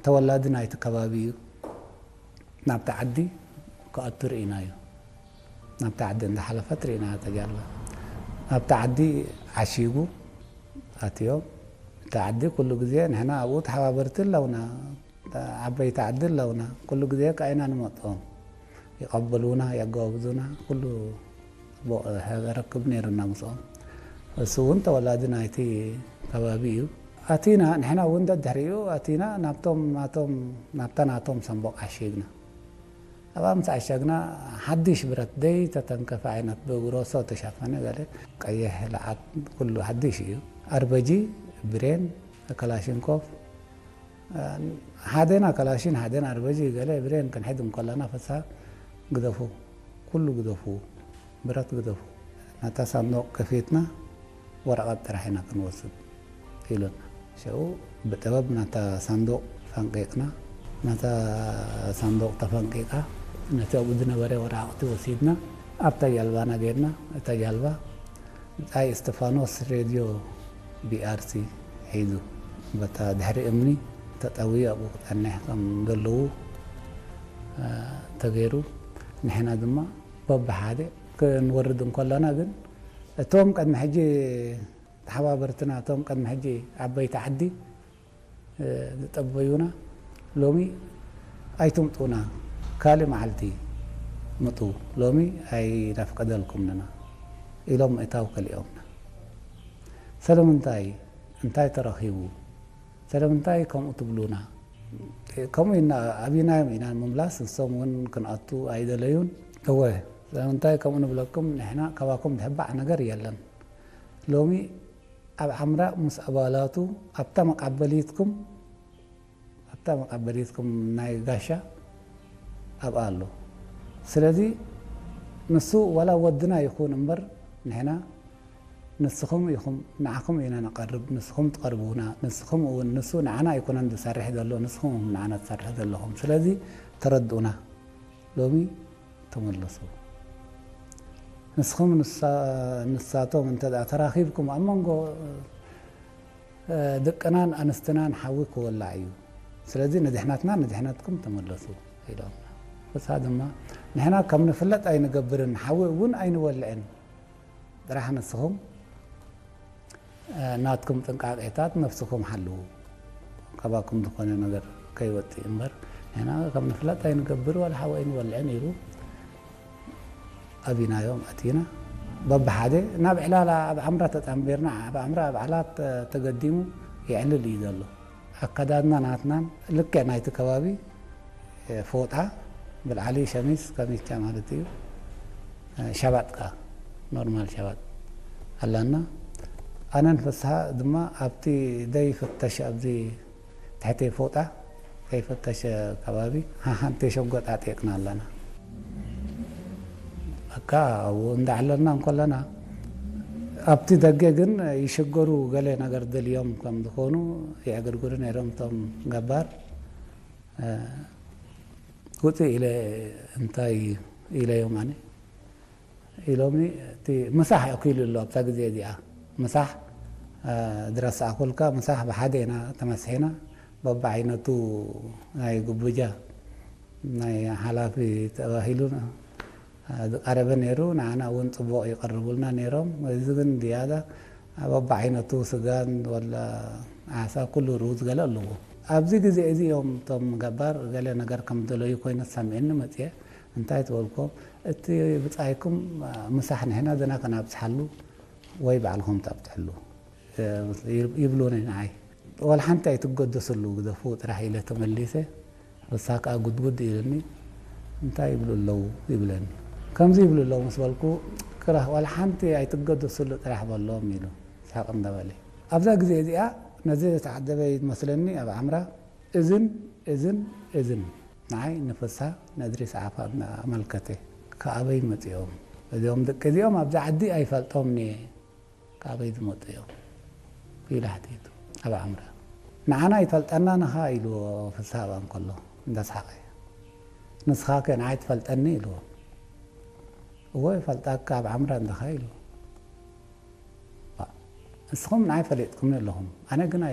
ተወላዲ ናይቲ ከባቢ እዩ። ናብቲ ዓዲ ክኣቱ ርኢናዮ። ናብቲ ዓዲ እንዳሓለፈት ርኢናዮ እታ ጃልባ። ናብቲ ዓዲ ዓሺጉ ኣትዮም። እቲ ዓዲ ኩሉ ግዜ ንሕና ኣብኡ ተሓባበርቲ ኣለውና፣ ዓበይቲ ዓዲ ኣለውና። ኩሉ ግዜ ከኣ ኢና ንመጽኦም። ይቐበሉና፣ የጋብዙና፣ ኩሉ ጽቡቕ ረክብ ነይሩና ምስኦም። እሱ እውን ተወላዲ ናይቲ ከባቢ እዩ። ኣቲና፣ ንሕና እውን ደድሕሪኡ ኣቲና፣ ናብቶም፣ ናቶም፣ ናብታ ናቶም ሳንቦቕ ዓሺግና። ኣብኣ ምስ ዓሸግና፣ ሓድሽ ብረት ደይ ተተንከፈ ዓይነት ብግሮሶ ተሸፈነ ገለ፣ ቀይሕ ለዓት፣ ኩሉ ሓድሽ እዩ። ኣርበጂ፣ ብሬን፣ ከላሽንኮፍ፣ ሓደና ከላሽን፣ ሓደና ኣርበጂ ገለ ብሬን ክንሕዝ እንከለና፣ ፍስሃ፣ ግደፉ፣ ኩሉ ግደፉ፣ ብረት ግደፉ። ነታ ሳንዱቕ ከፊትና፣ ወረቐት ጥራሕ ኢና ክንወስድ ኢሉና። ሽዑ ብጥበብ ነታ ሳንዱቕ ፈንቂቕና። ነታ ሳንዱቕ ተፈንቂቓ፣ ነቲ ኣብኡ ዝነበረ ወረቓቕቲ ወሲድና፣ ኣብታ ጃልባና ጌርና። እታ ጃልባ ብጻይ እስጢፋኖስ ሬድዮ ቢኣርሲ ሒዙ፣ በታ ድሕሪ እምኒ ተጠውዩ ኣብኡ ክጸንሕ ከም ዘለዉ፣ እ፣ ተገይሩ። ንሕና ድማ በብሓደ ክንወርድ እንከለና ግን፣ እቶም ቅድሚ ሕጂ ተሓባበርትና፣ እቶም ቅድሚ ሕጂ ዓበይቲ ዓዲ፣ እ፣ ዝጠበዩና፣ ሎሚ ኣይትምጡና፣ ካልእ መዓልቲ ምጡ፣ ሎሚ ኣይነፍቅደልኩምንና ኢሎም ምእታው ከሊኦምና። ስለምንታይ? እንታይ ተረኺቡ? ስለምንታይ ከምኡ ትብሉና? ከምኡ ኢና፣ ኣቢናዮም ኢና ንምምላስ፣ ንሶም እውን ክንኣቱ ኣይደለዩን። እወ፣ ስለምንታይ ከምኡ ንብለኩም? ንሕና ካባኩም ዝሕባእ ነገር የለን። ሎሚ ኣብ ዓምራ ምስ ኣባላቱ ኣብታ መቃበሊትኩም፣ ኣብታ መቃበሊትኩም ናይ ጋሻ ኣብኣ ኣሎ። ስለዚ ንሱ ዋላ ወድና ይኹን እምበር፣ ንሕና ንስኹም ኢኹም፣ ንዓኹም ኢና ንቐርብ፣ ንስኹም ትቐርቡና፣ ንስኹም እውን፣ ንሱ ንዓና ኣይኮነን ዝሰርሕ ዘሎ፣ ንስኹም ኢኹም ንዓና ትሰርሑ ዘለኹም። ስለዚ ተረድኡና፣ ሎሚ ተመለሱ። ንስኹም ንሳ-፣ ንሳቶም እንተ ደኣ ተራኺብኩም፣ ኣብ መንጎ፣ እ፣ ደቅናን ኣንስትናን ሓዊ ክወላዕ እዩ። ስለዚ ንድሕነትና፣ ንድሕነትኩም ተመለሱ ኢሎም። ፍስሃ ድማ፣ ንሕና ከም ንፍለጥ ኣይንገብርን፣ ሓዊ እውን ኣይንወልዕን። ጥራሕ ንስኹም፣ እ፣ ናትኩም ጥንቃቄታት ነፍስኹም ሓልዉ። ካባኩም ዝኾነ ነገር ከይወጽእ እምበር፣ ንሕና ከም ንፍለጥ ኣይንገብር፣ ዋላ ሓዊ ኣይንወልዕን ኢሉ ኣቢናዮም ኣቲና። በብሓደ ናብ ዕላላ ኣብ ዓምራ ተጣምቢርና፣ ኣብ ዓምራ ኣብ ዓላት ተገዲሙ የዕልል እዩ ዘሎ። ኣከዳድና ናትናን ልክዕ ናይቲ ከባቢ፣ እ፣ ፎጣ ብላዕሊ ሸሚዝ፣ ካሚቻ ማለት እዩ። እ፣ ሸባጥ ከኣ ኖርማል ሸባጥ ኣለና። ኣነን ፍስሃ ድማ ኣብቲ ደይፍተሽ ኣብዚ ትሕቲ ፎጣ ዘይፈተሸ ከባቢ ሓሓንቲ ሸጎጥ ኣጥየቅና ኣለና። በቃ ኣብኡ እንዳዕለልና እንከለና፣ ኣብቲ ደገ ግን ይሽገሩ፣ ገለ ነገር ደልዮም ከም ዝኾኑ ይዕግርግሩ ነይሮም እቶም ገባር። እ፣ ውፅእ ኢለ እንታይ ኢለዮም ኣነ ኢሎምኒ፣ እቲ ምሳሕ ኣኪሉ ኣሎ ኣብታ ግዜ እዚኣ። ምሳሕ፣ እ፣ ዝረሳዕኩልካ፣ ምሳሕ ብሓደ ኢና ተመስሒና፣ በብዓይነቱ ናይ ጉብጃ፣ ናይ ሓላፊ ተባሂሉ፣ እ፣ ዝቐረበ ነይሩ። ንዓና እውን ጽቡቕ ይቐርቡልና ነይሮም። እዚ ግን ዝያዳ በብዓይነቱ ስጋን ወላ ዓሳ፣ ኩሉ ሩዝ ገለ ኣለዎ። ኣብዚ ግዜ እዚ እዮም እቶም ገባር ገለ ነገር ከም ደለዩ ኮይኑ ተሰሚዕኒ መጽየ። እንታይ ትበልኩም? እቲ ብጻይኩም ምሳሕ ንሕና ዘና ከናብጽሓሉ ወይ ባዕልኹም ተብጽሕሉ፣ እ፣ ይብሉኒ ንዓይ። ዋላ ሓንቲ ኣይትገደስሉ፣ ግደፉ ጥራሕ ኢለ ተመሊሰ። ንሳ ከኣ ጉድጉድ ኢሉኒ፣ እንታይ ይብሉ ኣለዉ ይብለኒ። ከምዚ ይብሉ ኣለዉ ምስ በልኩ፣ ክራህ ዋላ ሓንቲ ኣይትገደስሉ ጥራሕ በሎም ኢሉ ስሕቕ እንዳበለ። ኣብዛ ግዜ እዚኣ ነዚ ዝተዓደበ ይመስለኒ ኣብ ዓምራ እዝን እዝን እዝን ንዓይ ንፍስሃ ነድሪ ሰዓፋ እናኣመልከተ፣ "ከኣበይ መጺኦም? እዚኦም ደቂ እዚኦም ኣብዚ ዓዲ ኣይፈልጦምን እየ፣ ከኣበይ ዝመጹ እዮም?" ኢሉ ሓቲቱ ኣብ ዓምራ። "ንዓና ይፈልጠና ንኻ?" ኢልዎ ፍስሃ ኣብኣ እንከሎ እንዳሰሓቐ። "ንስኻ ከ ንዓይ ትፈልጠኒ?" ኢልዎ። "እወ ይፈልጣካ፣ ኣብ ዓምራ እንዲኻ?" ኢልዎ። "ባ፣ ንስኹም ንዓይ ፈሊጥኩምኒ ኣለኹም፣ ኣነ ግን